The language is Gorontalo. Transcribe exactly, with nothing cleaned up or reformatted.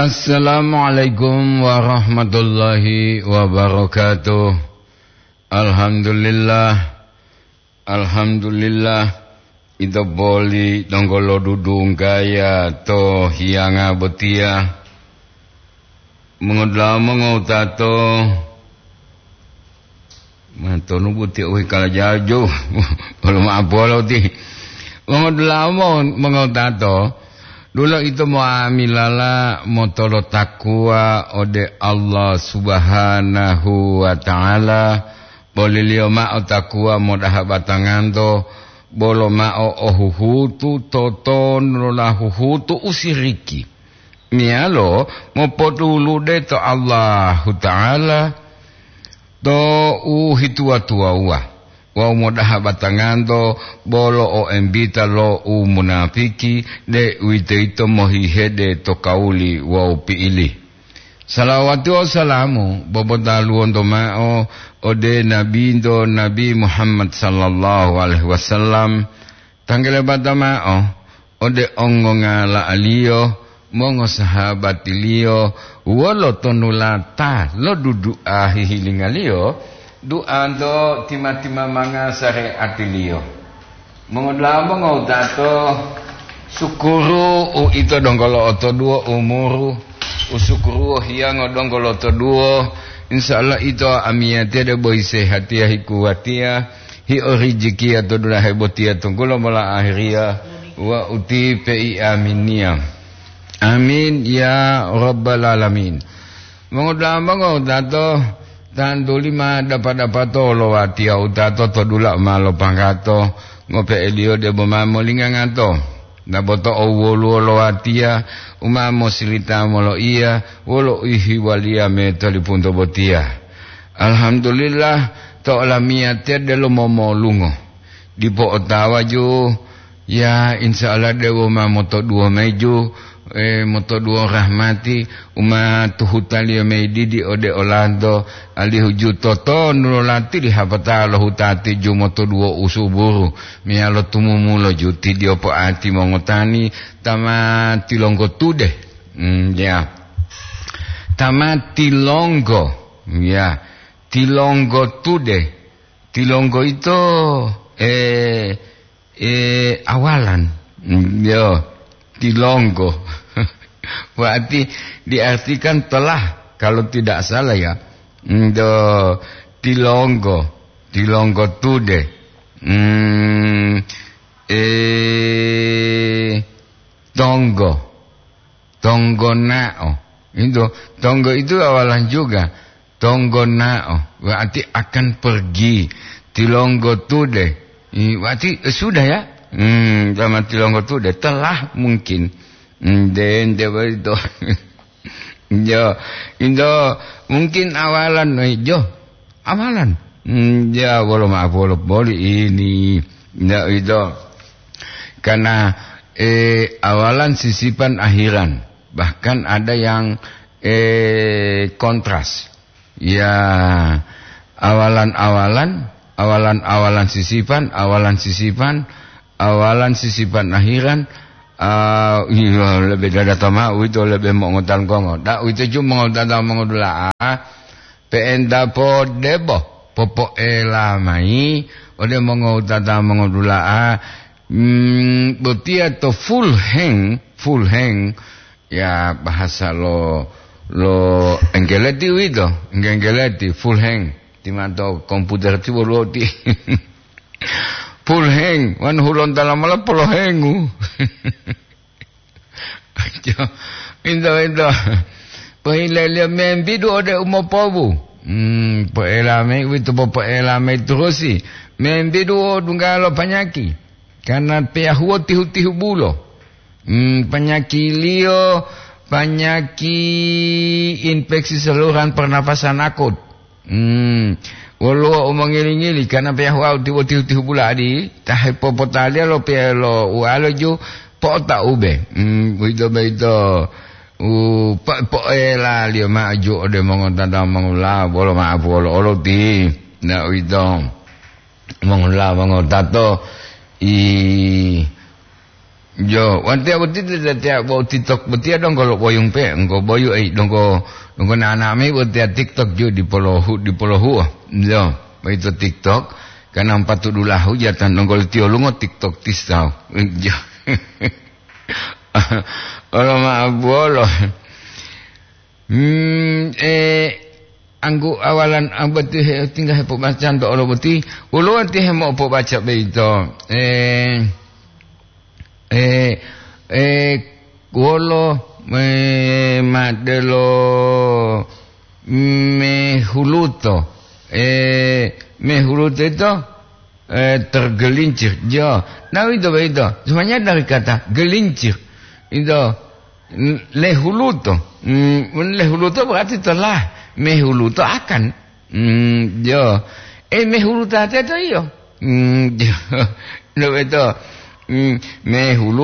Assalamualaikum warahmatullahi wabarakatuh. Alhamdulillah. Alhamdulillah. Ito boli donggo lodudunggaya to hiyanga botiya. Mongodula'a mongowutato. Matonu buti uwi kala jaju. Bolo ma'apolo ti. Mongodula'a mo-, mongowutato. Dula ito mo'amilala motolo takuwa ode Allah Subhanahu wa Ta'ala, boliliyo ma'o takuwa modaha batanganto, bolo ma'o ohuhutu totonulola huhutu usiriki, meyalo mopotulude to Allahuta'ala to u hituwa-tuwawuwa, wawu modaha batanganto bolo o embita lo u munapiki, deuwitoyito mohihede to kawuli wawu pi'ili. Salawati wawu salamu bobotaluwonto ma'o ode Nabinto Nabi Muhammad sallallahu alaihi wasallam, tanggelebata ma'o ode ongongala'aliyo, mongosahabatiliyo, wolo tonulata lo dudu'a hihilingaliyo, du'anto tima-timamanga sare'atiliyo. Mongodula'a mongowutato, sukuru uito donggo lo'otoduwo umuru, usukuruwo hiyango donggo lo'otoduwo, insya Allah ito amiyatiya debo hisehatiya hikuwatiya, hi'orijikiya to dulahe botiya tunggulo mola ahiriya wa uti pei aminiya. Amin ya rabbal alamin. Mongodula'a mongowutato, tantuli ma dapa-dapato lo watiya wutato to dula ma lopanggato, ngope'eliyo debo ma molingangato. Naboto owoluwo lo watiya u ma mosilita moloiya wolo uhiwaliya me tolipunto botiya. Alhamdulillah, to olamiyatiya delo momolungo. Dipo otawa ju, ya, insya Allah dewo ma motoduwo mayi ju, e, motoduwo rahmati, u ma tuhutaliyo mayi didi ode olanto, alihu ju totonu lo latili hapata lo hutati ju motoduwo usuburu, meyalo tumumulo ju tidiyo po'ati mongotani ta ma tilonggo tude. Mm, ya. Ta ma tilonggo, ya. Tilonggo tude. Tilonggo ito, e, e, awalan. Mm, yo, tilonggo. Berarti diartikan telah, kalau tidak salah ya. Mm, do, tilonggo. Tilonggo tude. Mm, e, tonggo. Tonggonao. Itu, tonggo itu awalan juga. Tonggonao, berarti akan pergi. Tilonggo tude. I, berarti, eh, sudah ya? Hmm, sama tilonggo tude. Telah mungkin. Hmm, dende begitu. Yo, itu mungkin awalan, eh, jo. Awalan. Hmm, ya, bolo maaf, bolo, boli ini. Ya, itu. Karena, eh, awalan sisipan akhiran. Bahkan ada yang, eh, kontras. Ya, awalan-awalan, awalan-awalan sisipan, awalan sisipan, awalan sisipan akhiran, ah, iya, lebe dadata ma'o uwito lebe mongotan kongo. Da uwito ju mongotata mongodula'a, pe'enta podebo, popo'ela mayi ode mongotata mongodula'a, mm, botiya to full hang, full hang, ya, bahasa lo, lo Enggeleti uwito, Engge-, Enggeleti, full hang. Timanto komputer ti woluwo ti. Full hang, wanu hulontala mola polohengu. Into, into. Pohileliyo membidu ode umopobu. Hmm, po'ela mayi uwito popo'ela mayi turusi. Membidu o dunggalo panyaki. Karena peyahuo tihu-tihu bulo. Hmm, panyakiliyo, panyaki infeksi saluran pernapasan akut. Hmm, woluwo u mongili-ngili, karena peyahuo tihu-tihu bulo adi, ta hepopotaliya lo pe-, lo ualo ju po'otaube. Hmm, uwito boyito u po-, po'elaliyo ma'o ju ode mongotata mongula, bolo ma'apu olo-olo ti. Na uwito. Mongula mongotato i Jo, watiya boti tetiya bo TikTok botiya donggo lo boyung pe, engko boyu ei donggo, donggo nana mayi botiya TikTok ju dipolohu-, dipolohuo. Jo, boyito TikTok, kana empatu dulahu jatan donggo lo tiyolungo TikTok tisau. Jo. Olo ma abuolo. Hmm, eh, anggu awalan, ah, boti he, tingga hepobacanto olo boti, woluwo ti hemopobaca boyito. Eh, eh, eh, wolo, eh, madelo mehuluto. Eh, mehuluto ito, eh, tergelincir. Jo, nah, itu, itu. Semuanya dari kata gelincir. Itu, n-, lehuluto. Hmm, lehuluto berarti telah. Mehuluto akan. Hmm, jo. Eh, mehuluto ate to iyo. Hmm, jo. Lo itu. Hmm, mehulu